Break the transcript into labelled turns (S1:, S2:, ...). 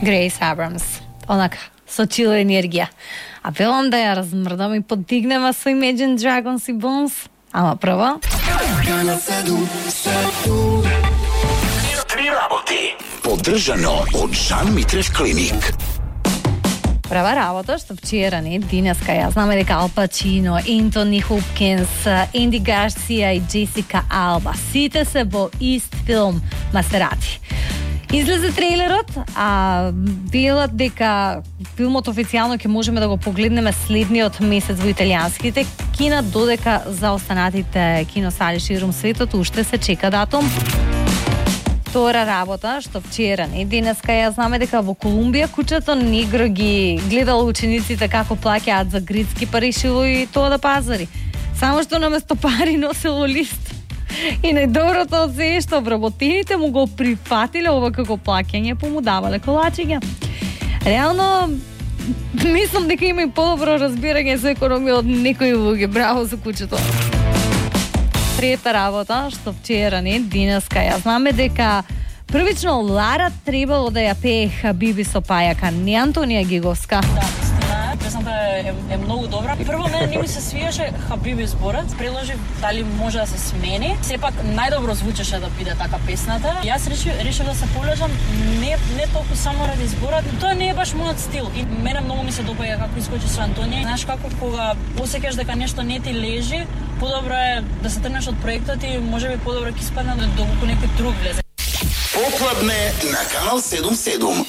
S1: Грейс Абрамс, онака, со чил енергија. А велам да ја размрдам и подигнеме со Imagine Dragons и Bones. Ама прво...
S2: Три работи. Поддржано од Жан Митрев клиник.
S1: Прва работа што вчера денеска ја знаме дека Ал Пачино, Ентони Хопкинс, Енди Гарсија и Джесика Алба сите се во ист филм Масерати. Излезе трейлерот, а велат дека филмот официјално ќе можеме да го погледнеме следниот месец во италијанските кина, додека за останатите киносали ширум светот уште се чека датум. Втора работа, што вчера денеска ја знаме дека во Колумбија кучето негро ги гледало учениците како плаќаат за грицки, па решило и тоа да пазари. Само што наместо пари носело лист. И најдоброто од се е што вработените му го прифатиле ова како плаќање, па му давале колачиња. Реално, мислам дека има и подобро разбирање за економија од некои луѓе. Браво за кучето. Трета работа, што вчера денеска ја знаме дека првично Лара требало да ја пее Хабиби со Пајака, не Антонија Гиговска.
S3: Да, истина, песната е многу добра. Прво мене не ми се свиеше Хабиби зборот, предложив дали може да се смени. Сепак најдобро звучеше да биде така песната. Јас решив да се полежам не толку само ради зборот, тоа не е баш мојот стил. И мене многу ми се допаѓа како искочи со Антонија. Знаеш како кога осеќаш дека нешто не ти лежи, подобро е да се тргнеш од проектот и можеби подобро ќе испадне доколку некој друг влезе.
S2: Попладне на Канал 77.